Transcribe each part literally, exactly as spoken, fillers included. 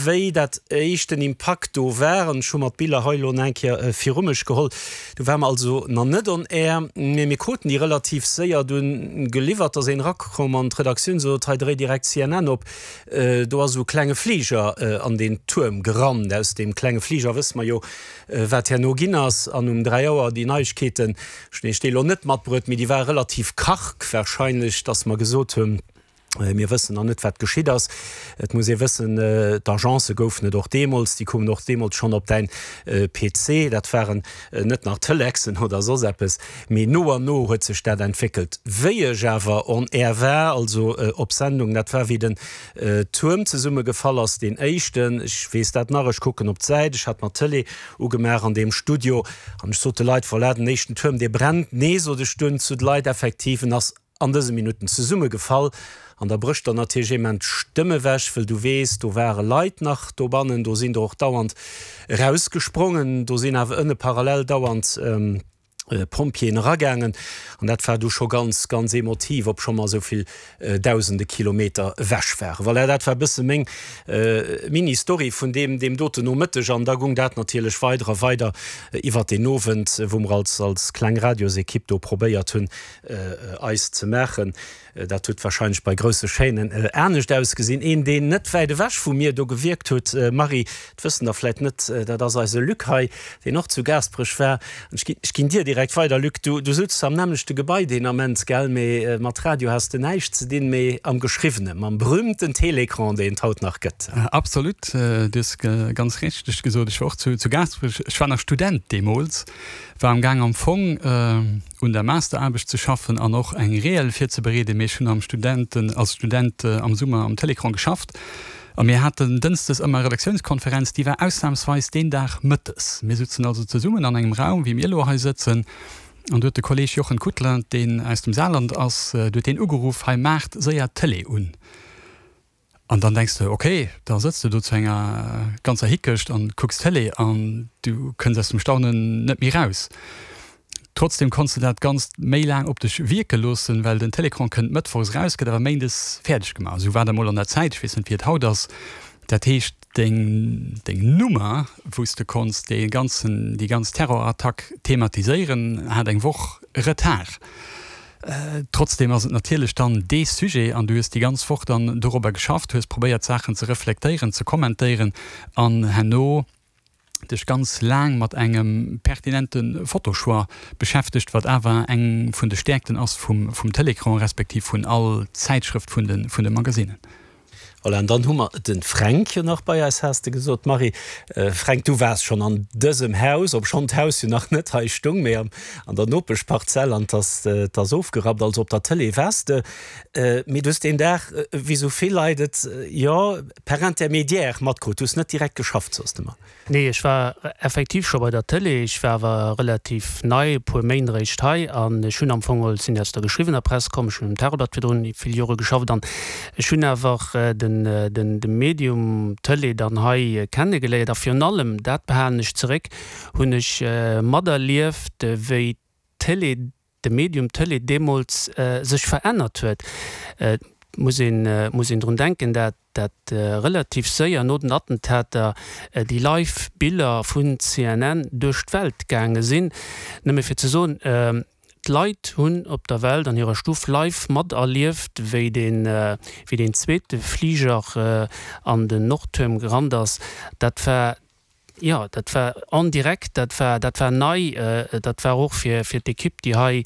Wéi dat éischten Impakt do war, an ech hu mer d'Biller hei elo nach eng Kéier viru mech geholl, do ware mer also nach net on air, mee mir kruten déi relativ séier dunn geliwwert, da ass een erakomm an d'Redaktioun, sot, hei dréi direkt C N N op, do ass esou e klenge Fliger an deen Tuerm gerannt. Aus deem klenge Fliger wësse mer jo, wat herno ginn ass. An um dräi Auer déi Neiegkeeten, ech hunn iech déi elo net matbruet, mee déi ware relativ karg warscheinlech, dass mer gesot hunn, mir wëssen nach net, wat geschitt ass. Et muss ee wëssen, d'Agencë goufen et och deemools, déi koumen och deemools schonn op däin P C, dat waren net nach Telexen oder soss eppes, mee no an no huet sech dat entwéckelt. Wéi ech awer on air war, also op Sendung, dat war wéi den Tuerm zesummegefall ass, deen éischten, ech weess dat nach, ech kucken op d'Säit, ech hat mer d'Tëlee ugemaach an deem Studio an ech sot de Leit, voilà, den éischten Tuerm, dee brennt. Nee, sot ech dunn zu de Leit, effektiv, en ass an dëse Minutten zesummegefall. An da brécht der natierlech eemol d'Stëmm ewech, wëll du weess, do ware Leit nach dobannen, do sinn der och dauernd erausgesprongen, do sinn awer ënne parallel dauernd Pompjeeën eragaangen. An dat war du scho ganz, ganz emotiv, obscho mer esou vill dausende Kilometer ewech waren. Voilà, dat war e bësse meng Mini-Story vun deem, deem doten Nomëtteg. An da gung dat natierlech weider a weider iwwert deen Owend, wou mer als, als kleng Radiosekipp do probéiert hunn, eis ze maachen. Dat huet wahrscheinlech bei grousse Chaînen anescht ausgesinn. Een, deen net wäit ewech vu mir do gewierkt huet, Marie, dat wëssen der vläit net, dat ass eise Luc hei, deen och zu Gaasperech war. An ech ginn, ech ginn dir direkt weider, Luc. Du, du sutz am nämmlechte Gebai deen Ament, gell? Mee mat Radio has de näischt ze dinn, mee am Geschriwwenen, mam berühmten Télécran, deen et haut nach gëtt. Absolut, du hues ganz richteg gesot. Ech war och zu, zu Gaasperech. Ech war nach Student deemools, war am Gaang am Fong un der Masteraarbecht ze schaffen an och eng Reel virzebereeden, mee ech hunn am Studenten, als Student am Summer am Télécran geschafft a mir haten dënschdes ëmmer Redaktiounskonferenz, déi war ausnamsweis deen Dag mëttes. Mir sutzen also zesummen an engem Raum, wéi mir elo hei sëtzen, an do huet de Kolleg Jochen Kuttler, deen aus dem Saarland ass, do huet deen ugeruff, hei maacht séier d'Télé un. An dann denks de, ok, da sëtz de do zu enger ganzer Hickecht an kucks Télé an du kënns aus dem Staunen net méi raus. Trotzdem konns de dat Ganzt méi laang op dech wierke loossen, well den Télécran kënnt mëttwochs raus, gëtt awer méindes fäerdeg gemaach. Esou war dat emol an der Zäit, ech weess net wéi et haut ass. Dat heescht, deng, deng Nummer, wou s de konns dee ganzen, déi ganz Terrorattack thematiséieren, hat eng Woch Retard. Trotzdem ass et natierlech dann dee Sujet an du hues déi ganz Woch dann dorobber geschafft, hues probéiert Saachen ze reflektéieren, ze kommentéieren an herno dech ganz laang mat engem pertinente Fotochoix beschäftegt, wat awer eng vun de Stäerkten ass vum, vum Télécran respektiv vun all Zäitschrëft vun de, vun de Magasinen. Voilà, an dann hu mer den Fränk jo nach bei eis, has de gesot, Marie. Fränk, du waars schonn an dësem Haus, obschonn d'Haus jo nach net hei stung, mee an der Nopeschparzell, an 't ass ofgerappt, also op der Tëlee waars de. Mee du hues deen Dag, wéi sou vill Leit et, jo, per Intermédiaire matkrut, du hues net direkt geschafft, soss de mer. Nee, ech war effektiv scho bei der Tëlee. Ech war awer relativ nei, e puer Méint eréischt hei. An ech hunn am Fong geholl, sinn aus der geschriwwener Press komm, ech hunn um Tageblatt virdrun vill Jore geschafft an ech hunn awer den, den, de Medium Tëlee dann hei kennegeléiert. A virun allem, dat behalen ech zeréck, hunn ech materlieft, wéi d'Tëlee, de Medium Tëlee deemools sech verännert huet. Et muss een, muss een drun denken, dat dat relativ séier no den Attentater déi live Biller vun C N N duerch d'Welt gaange sinn. Nëmme fir ze soen, d'Leit hunn op der Welt an hirer Stuff live materlieft, wéi den, wéi den zweete Fliger an den Nordtuerm gerannt ass. Dat war, jo, dat war en direct, dat war, dat war nei, dat war och fir, fir d'Ekipp, déi hei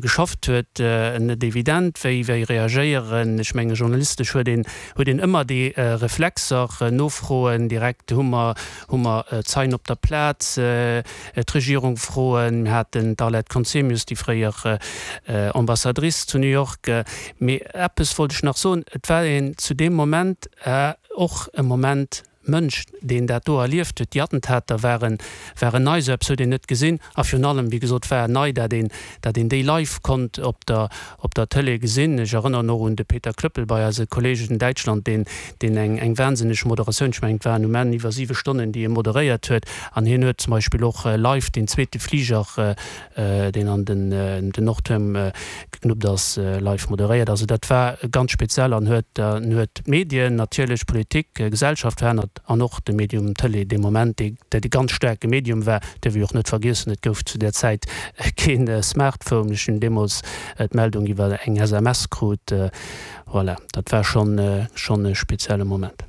geschafft huet, net evident, wéi, wéi reagéieren. Ech menge journalistesch huet een, huet een ëmmer déi Reflexer, Nofroen direkt, hu mer, hu mer Zeien op der Plaz, d'Regierung froen. Mir haten d'Arlette Conzemius, déi fréier Ambassadrice zu New York. Mee eppes wollt ech nach soen, et war een zu deem Moment och e Moment Mënsch, deen dat do erlieft huet. Déi Attentater waren, waren nei, sou eppes huet een net gesinn. A virun allem, wéi gesot, war nei, dat een, dat een déi live konnt op der, op der Tëlee gesinn. Ech erënneren och un de Peter Klöppel bei eise Kollegen in Däitschland, deen, deen eng, eng wahnsinneg Moderatioun, ech mengen, et waren um Enn iwwer siwe Stonnen, déi e moderéiert huet. An hien huet zum Beispill och live deen zweete Fliger, deen an den, den Nordtuerm geknuppt ass, live moderéiert. Also dat war ganz speziell an huet, huet d'Medien, natierlech Politik, Gesellschaft verännert. verännert an och de Medium Tëlee dee Moment, dee dee ganz staarke Medium war, däerf ee och net vergiessen, et gouf zu där Zäit keen Smartphone, ech hunn deemools d'Meldung iwwer eng S M S krut. Voilà, dat war schonn schonn e spezielle Moment.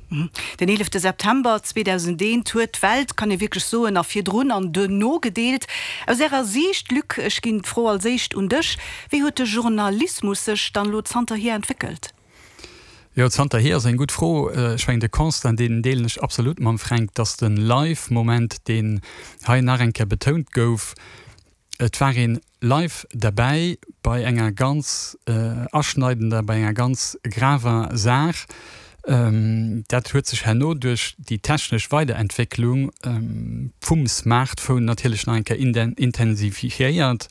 Den eelefte September zweedausendeent huet d'Welt, kann ee wierklech soen, a virdrun an duerno gedeelt. Aus Ärer Siicht, Luc, ech ginn d'Fro als éischt un dech, wéi huet de Journalismus sech dann elo zanterhier entwéckelt? Jo, zanterhier ass eng gutt Fro. Ech mengen, de Constat, deen deelen ech absolut mam Fränk, dass de Live-Moment, deen hei nach eng Kéier betount gouf, et war een live derbäi bei enger ganz aschneidender, bei enger ganz graver Saach. Dat huet sech herno duerch déi technesch Weiderentwécklung vum Smartphone natierlech nach eng Kéier intensifiéiert.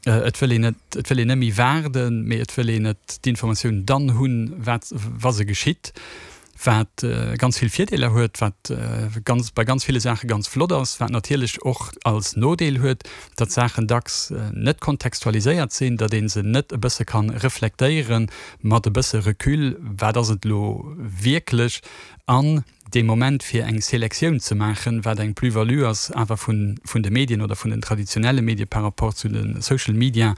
Et wëll een net, et wëll een net méi waarden, mee et wëll een et d'Informatioun dann hunn, wat, wa se geschitt, wat ganz vill Virdeeler huet, wat ganz, bei ganz ville Saache ganz flott ass, wat natierlech och als Nodeel huet, datt Saachen dacks net kontextualiséiert sinn, datt ee se net e bësse kann reflektéiere mat e bësse Recul, wat ass et elo wierklech, an dee Moment fir eng Selektioun ze maachen, wat eng Plus-value ass awer vun, vun de Medien oder vun den traditionelle Medie par rapport zu de Social Media,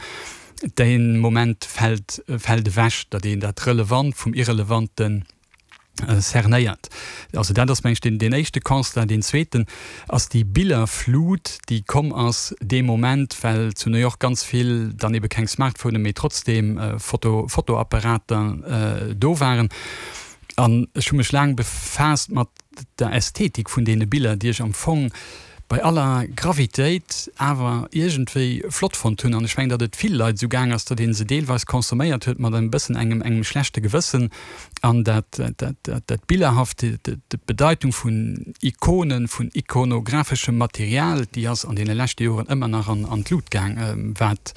dee Moment fält, fält ewech, datt een dat Relevant vum Irrelevanten cernéiert. Also dat ass, meng ech, deen, deen éischte Constat. Deen zweeten ass déi Billerflut, déi komm ass dee Moment, well zu New York ganz vill dann ebe keng Smartphonen, mee trotzdeem Foto, Fotoapparater do waren. An ech hu mech laang befaasst mat der Ästhetik vun deene Biller, déi ech am Fong bei aller Gravitéit awer iergendwéi flott fonnt hunn. An ech mengen, datt et vill Leit esou gaang ass, datt ee se deelweis consomméiert huet mat e bëssen engem, engem schlechte Gewëssen. An dat, dat, dat, dat Billerhaft, d'Bedeitung vun Ikonen, vun ikonographeschem Material, déi ass an deene leschte Joren ëmmer nach an, an d'Lut gaang, wat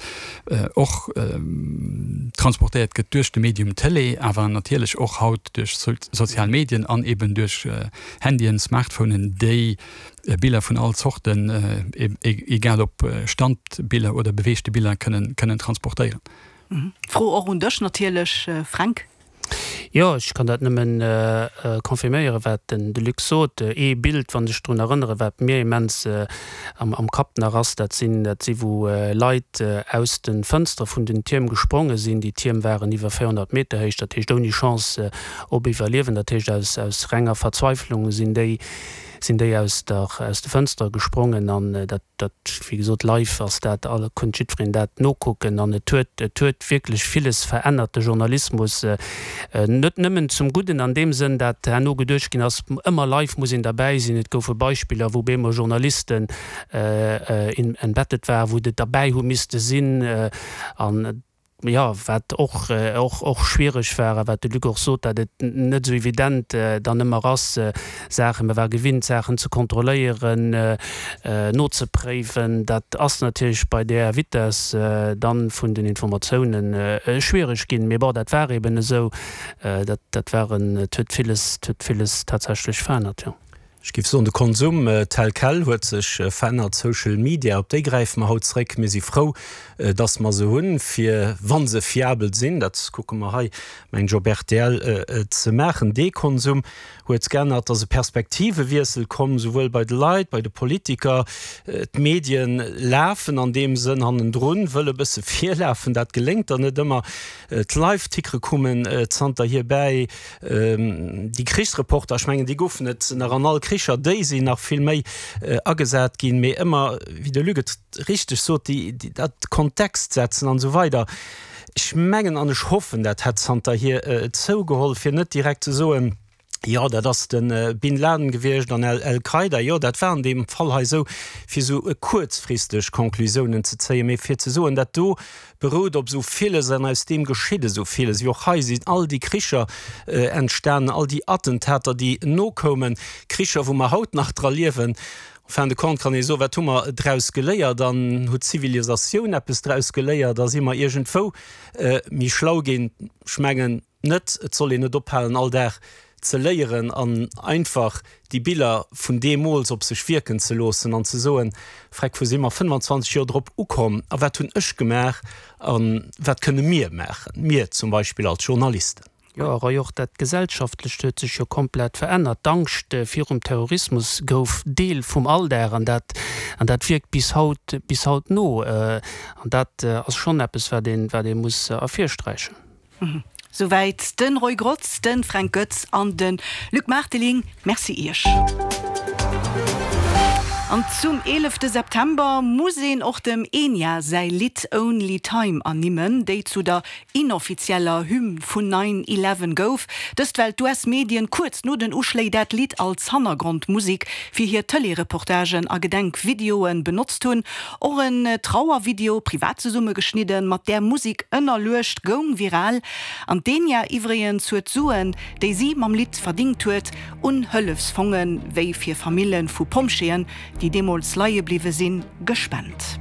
och transportéiert gëtt duerch de Medium Tëlee, awer natierlech och haut duerch sozial Medien an eben duerch Handyen, Smartphonen, déi Biller vun all Zorten, egal ob Standbiller oder beweegte Biller, kënnen, kënnen transportéieren. Fro och un dech natierlech, Fränk. Jo, ech kann dat nëmmen confirméieren, wat den de Luc sot. Ee Bild, wann ech drun erënneren, wat mir immens am, am Kapp nach ass, dat sinn, dat si wou Leit aus de Fënstere vun den Tierm gespronge sinn. Déi Tierm waren iwwer véierhonnert Meter héich, dat heescht ouni Chance op Iwwerliewen. Dat heescht aus, aus renger Verzweiflung sinn déi, sinn déi aus der, aus de Fënstere gesprongen an dat, dat, wéi gesot, live ass dat, all, konnt jiddwereen dat nokucken an et huet, et huet wierklech villes verännert, de Journalismus, net nëmmen zum Gudden an deem Sënn, dat herno geduecht ginn ass, ëmmer live muss een derbäi sinn. Et goufe Beispiller, wou bemol Journalisten embedded waren, wou de derbäi hu misste sinn an jo, wat och, och, och schwiereg war a wat de Luc och sot, datt et net esou evident dann ëmmer ass, Saachen, mer ware gewinnt, Saachen ze kontrolléieren, nozepréiwen. Dat ass natierlech bei där Vitesse dann vun den Informatiounen schwiereg ginn. Mee bon, dat war eben esou. Dat, dat war en, et huet villes, et huet villes tatsächlech verännert, jo. Ech géif soen, de Konsum tel quel huet sech verännert. Social Media, op déi gräife mer haut zréck. Mir si frou, dass mer se hunn, fir, wa se fiabel sinn, dat kucke mer hei, mengen ech, op R T L ze maachen. Dee Konsum huet geännert, et ass e Perspektivewiessel komm, souwuel bei de Leit, bei de Politiker. D'Medien lafen an deem Sënn hannendrun, wëlle e bësse virlafen, dat geléngt der net ëmmer. D'Live-Tickere kommen zanterhier bäi. Déi Krichsreporter, ech mengen, déi goufen et nach an all Kricher, déi sinn nach vill méi agesat ginn, mee ëmmer, wéi de Luc et richteg sot, déi, déi, dat Kontext setzen an esou weider. Ech mengen an ech hoffen, dat hätt zanterhier zougeholl, fir net direkt ze soen, jo, dat ass de Bin Laden gewiescht an Al-Qaida. Jo, dat war an deem Fall hei esou, fir esou kuerzfristeg Conclusiounen ze zéien, mee fir ze soen, dat do berout op esou villes an aus deem geschitt esou villes. Wéi och hei sinn all déi Kricher entstanen, all déi Attentater, déi nokoumen, Kricher, wou mer haut nach dra liewen. En fin de compte kann ee soen, wat hu mer draus geléiert? An huet d'Zivilisatioun eppes draus geléiert? A si mer iergendwou méi schlau ginn? Ech mengen net. Et soll een net ophalen, all Dag ze léieren an einfach déi Biller vun deemools op sech wierken ze loossen an ze soen, Freck, wou si mer fënnfanzwanzeg Joer drop ukomm a wat hunn ech gemaach a wat kënne mir maachen, mir zum Beispill als Journalisten? Jo, Roy, och dat Gesellschaftlecht huet sech jo komplett verännert. D'Angscht virum Terrorismus gouf Deel vum Alldag an dat, an dat wierkt bis haut, bis haut no. An dat ass schonn eppes, wat een, wat ee muss ervirsträichen. Souwäit de Roy Grotz, de Fränk Goetz an de Luc Marteling. Merci Iech. An zum eelefte September muss een och dem Enya säi Lidd Only Time ernimmen, déi zu der inoffizieller Hymn vun Nine Eleven gouf. Dëst well d'US-Medien kuerz no den Uschléi dat Lidd als Hannergrondmusek fir hir Tëlee-Reportagen a Gedenkvideoe benotzt hunn. Och en Trauervideo, privat zesummegeschnidden, mat där Musek ënnerluecht, goung viral. An d'Enya iwwregens huet d'Suen, déi si mam Lidd verdingt huet, un Hëllefsfonge wéi fir Famille vu Pompjeeën, déi deemools leie bliwwe sinn, gespent.